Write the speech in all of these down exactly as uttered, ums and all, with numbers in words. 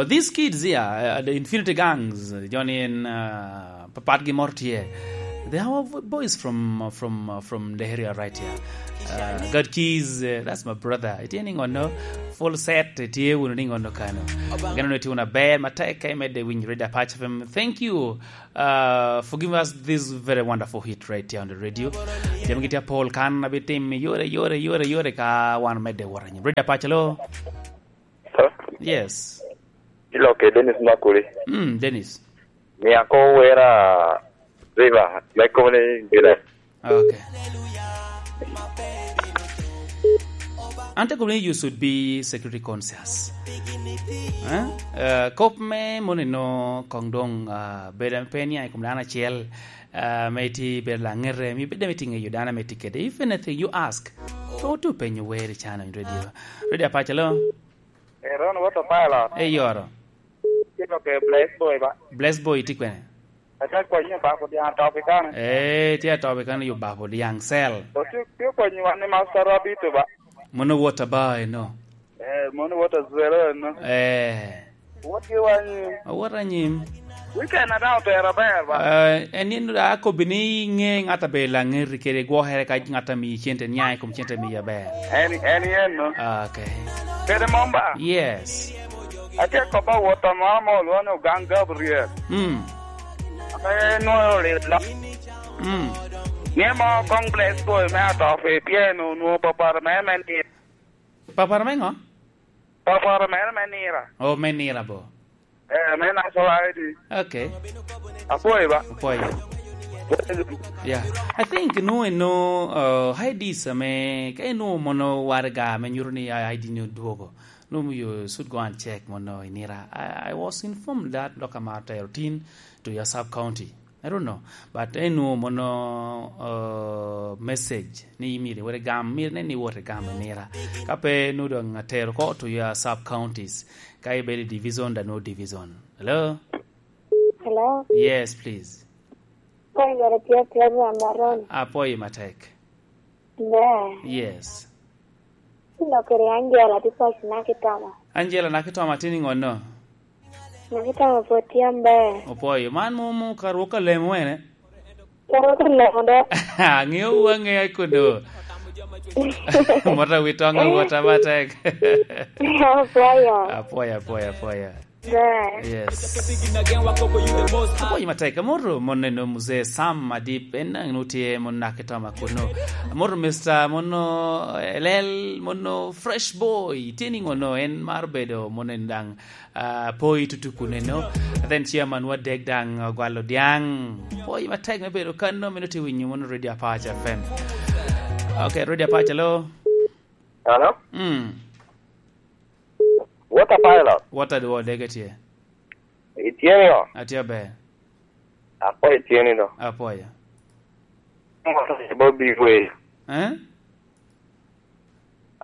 These kids here, uh, the Infinity Gangs, Johnny and, uh, Papat gi mor tye. They are our boys from, from, uh, from the area right here. Uh, God Keys, uh, that's my brother. Itye ni ngono, full set, itye wunu ni ngono kano. Gano ni tiyo na ber, matek ka imedde winyo Radio Apache F M. Thank you, uh, for giving us this very wonderful hit right here on the radio. Jami gitye apol kan, abitim yore, yore, yore, yore ka wan medde wora nyim. Radio Apache, hello? Hello? Yes. Ilokke Dennis Makuli. Mm, Dennis. Mia ko wera River, me kone Ngila. Okay. Ante kobbi ni you should be security conscious. Eh? Eh, kop me mono ino kong dong, ah, bedo pe niaŋ i kom dano acel, ah, me iti bedo laŋete, mi bedo me tingo yo dano me tikede. If anything, you ask. Pe otu penyo weri cano in radio. Radio Apache, hello? Ero ni woto pilot. Eyoro. Tye ka ke Bless Boy ba? Bless Boy tye kwene? Ate kwanyo Obako Diaŋ atop i kane. Eh, tye atop i kane yo Obako Diaŋ cell. Otye, tye kwanyo wan ni Master Rabbit ba? Mono wot aba eno. Eh, mono wot azwelo eno. Eh. Wot gi wan ni. Awot anyim. Weekend adaŋ otero aber ba? Eh, en ni akobbi ni ŋe ŋat a belo aŋeri kede gwokere ka ŋat a miyi cente, niaŋ i kom cente miyi aber. En, en yen no. Ah, okay. Kede mom ba? Yes. Atye kop awot amo amo olwoŋo ni Ogang Gabriel. Mm. Ame nwoŋo olilo. Mm. Ni mo kong Bless Boy me atop i pien onwoŋo papara mere me nira. Papara me ŋo? Papara mere me nira. Oh, me nira bo. Eh, me National I D. Okay. Apwoyo ba? Apwoyo. Yeah. I think no, no, uh, I Ds ame, ka ino mono waraga ame nyuto ni I D ni odwogo. No, you should go and check mono inira. I, I was informed that dok amaro tero tin to your sub county. I don't know. But eno mono, uh, message ni imire were gam, mire ne ni wote gam inira. Ka pe no dong atero ko to your sub counties. Ka ibedo i division, da no division. Hello? Hello? Yes, please. Kong yore tye program Maron. Apwoyo matek. Ne. Yes. Ilo kede Angela tye pac na kitama. Angela na kitama tye ni ngono? Na kitama pwod tye amber. Opwoyo. Man mo, mo ka rwok alemo ene? Ka rwok alemo do. Angeo wu angea kodo. Mota wi tong awota matek. Apwoyo. Apwoyo, apwoyo, apwoyo. Yes. Apwoyo matek. Amoto mon eno Mzee Sam Adip, en daŋ no tye mon na kitoma kuno. Amoto Mister mono Elel, mono Fresh Boy, tye ni ngono en mar bedo mon en daŋ, ah, poi tutu kuno eno. Then chairman wa dek daŋ, ah, gwalo diaŋ. Apwoyo matek me bedo kano, meno tye winyo mono Radio Apache F M. Okay, Radio Apache, hello? Hello? Mm. Water pilot. Water dwo dege tye. Itye ni o? Atye aber. Apo itye ni do. Apoya. Bobi Wade. Eh?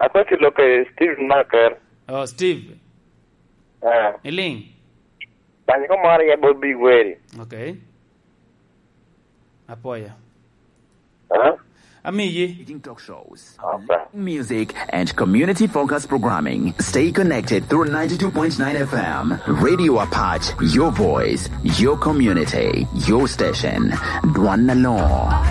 Akwati loke Steve Marker. Oh, Steve. Eh. Iling? Bany ko moro ya Bobi Wade. Okay. Apoya. Huh? Amiyi. Talk shows. Okay. Music and community focused programming. Stay connected through ninety-two point nine F M. Radio Apache, your voice, your community, your station. Dwan na law.